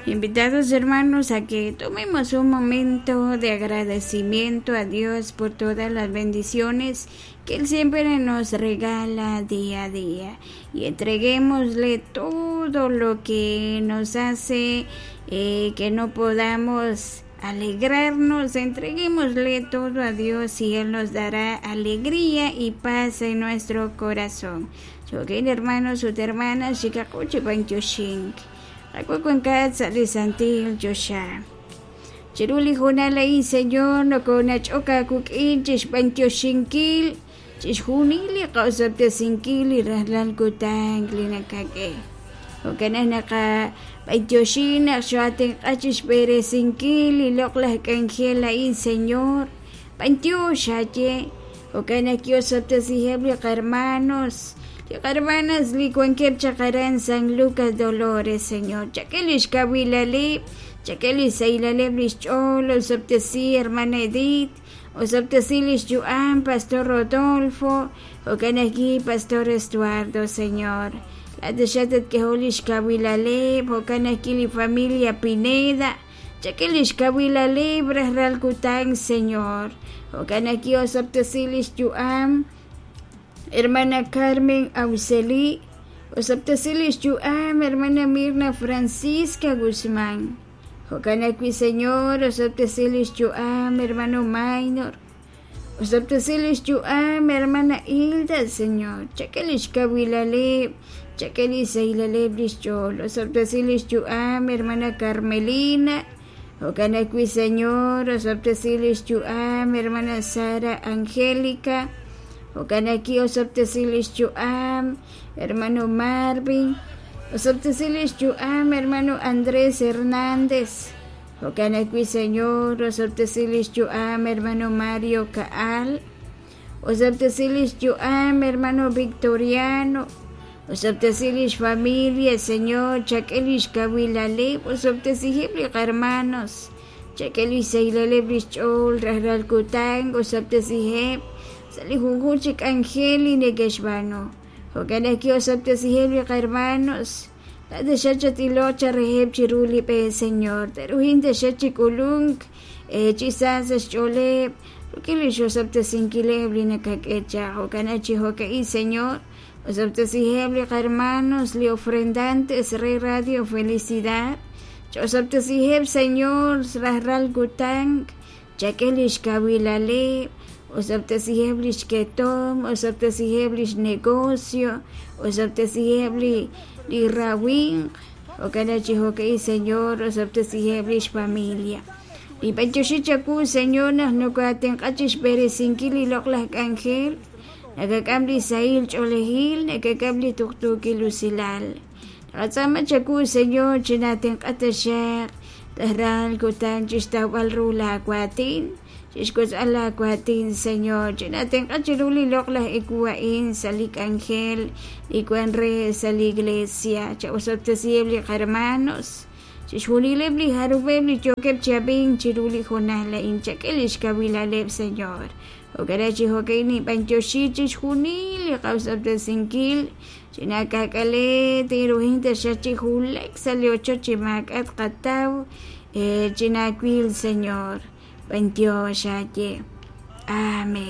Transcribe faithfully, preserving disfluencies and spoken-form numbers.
Invitados hermanos a que tomemos un momento de agradecimiento a Dios por todas las bendiciones que Él siempre nos regala día a día y entreguémosle todo lo que nos hace eh, que no podamos alegrarnos, entreguémosle todo a Dios y Él nos dará alegría y paz en nuestro corazón. Choquen hermanos ut hermanas, xikaquchi bantioxink. Qakukunkat sa' li santil choxa. Chiru li junal a'in Señor nokonach'ok aawik'in chixb'antioxinkil chixjunil li qa'osab'tesinkil li rajlal kutan li nakak'e. Jo'kan naqab'antioxin naq xoatenq'a chixb'eresinkil li loq'laj k'anjel a'in Señor. B'antiox aye. Jo'kan naq kiosab'tesiheb' li qarmanos li qarmanas li wankeb' chaq aran San Lucas Dolores Señor. Chak'e lix kawilaleb', chak'e li saylaleb' lix ch'ool, osab'tesi hermana Edith, osab'tesi lix yu'am Pastor Rodolfo, jo'kan ajwi' Pastor Estuardo Señor. Laat tatk'ehol lix kawilaleb', jo'kan ajwi' li familia Pineda, chak'e lix kawilaleb' rajlal kutan Señor. Jo'kan ajwi' osab'tesi lix yu'am hermana Carmen Auxeli, osab'tesi lix yu'am hermana Mirna Francisca Guzmán. Jo'kan ajwi' Señor, osab'tesi lix yu'am hermano Maynor, osab'tesi lix yu'am hermana Hilda, Señor. Chak'e lix kawilaleb', chak'e li saylaleb' lix ch'ool, osab'tesi lix yu'am hermana Carmelina. Jo'kan ajwi' Señor, osab'tesi lix yu'am hermana Sara Angélica. Jo'kan ajwi' osab'tesi lix yu'am hermano Marvin, osab'tesi lix yu'am hermano Andrés Hernández. Jo'kan ajwi' Señor, osab'tesi lix yu'am hermano Mario Kaal, osab'tesi lix yu'am hermano Victoriano, osab'tesi lix familia Señor, chak'e lix kawilaleb', osab'tesiheb' li qarmanos, chak'e lix saylaleb' lix ch'ool rajlal kutan, osab'tesiheb' sa' li junjun chi k'anjel li neke'xb'aanu. Jo'kan ajwi' osab'tesiheb' li qarmanos, laat taxaq chatiloq chareheb' chiru li b'e Señor, te'ruhin taxaq chik'ulunk chi sa sa' xch'ooleb' rik'in li xosab'tesinkileb' li nakak'e chaq. Jo'kan chi jo'ka'in Señor, osab'tesiheb' li qarmanos li ofrendantes re Radio Felicidad, ch'osab'tesiheb' Señor rajlal kutan, chak'e lix kawilaleb', osab'tesiheb' lix ketom, osab'tesiheb' lix negocio, osab'tesiheb' li li rawinq, jo'kan chi jo'ka'in Señor, osab'tesiheb' lix familia. Li b'antioxi chawu Señor naq nokoatenq'a chixb'eresinkil li loq'laj k'anjel, nakak'am li sahil ch'oolejil, nakak'am li tuqtuukil usilal. Naqatz'aama chawu Señor chinatenq'a taxaq rajlal kutan chixtawb'al ru laawatin, chixk'utz'al laawatin Señor, chinatenq'a chiru li loq'laj ewu a'in sa' li k'anjel li wan re sa' li iglesia. Cha'osab'tesiheb' li qarmanos, chixjunileb' li jarub'eb' li yookeb' chi ab'ink chiru li jonal a'in, chak'e lix kawilaleb' Señor. Jo'kan chi jo'ka'in nib'antioxi chixjunil li qawsab'tesinkil, chinak'ak'ale tinruhin taxaq chi julek sa' li ochoch chi maak'at qataw, chinawil Señor. B'antiox aye. Amén.